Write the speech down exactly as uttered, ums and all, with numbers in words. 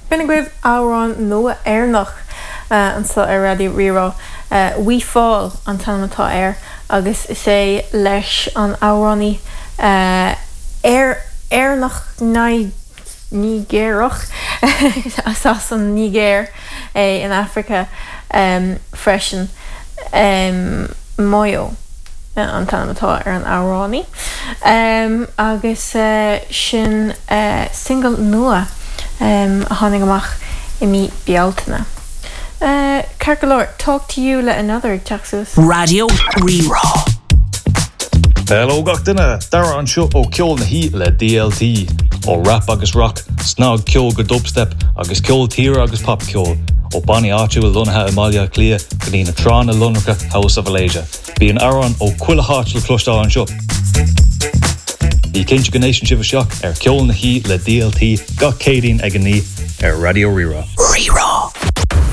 B'in agaibh amhrán nua Éireannach anseo ar Raidió Rí-Rá. We Fall an t-ainm atá air agus is é leis an amhránaí Éireannach Nigéarach as an Nigéir é in Africa freisin Moyo an t-ainm atá ar an amhránaí agus sin single nua a tháinig amach i mí Bealtaine. Ceart go leor, Talk to You le Another ag teacht suas. Raidió Rí-Rá. Hello gach duine, Dara anseo ó Ceol na hOíche le DLT, ó rap agus rock, snagcheol go dubstep agus ceol tíre agus popcheol, ó bannaí áitiúil lonnaithe i mBaile Átha Cliath go dtí na tránna lonracha House of Alasia. Bíonn amhráin ó chuile háit le cloisteáil anseo. Bí cinnte go n-éisteann sibh isteach ar Ceol na hOíche le DLT gach Céadaoin ag a naoi ar Raidió Rí-Rá. Rí-Rá.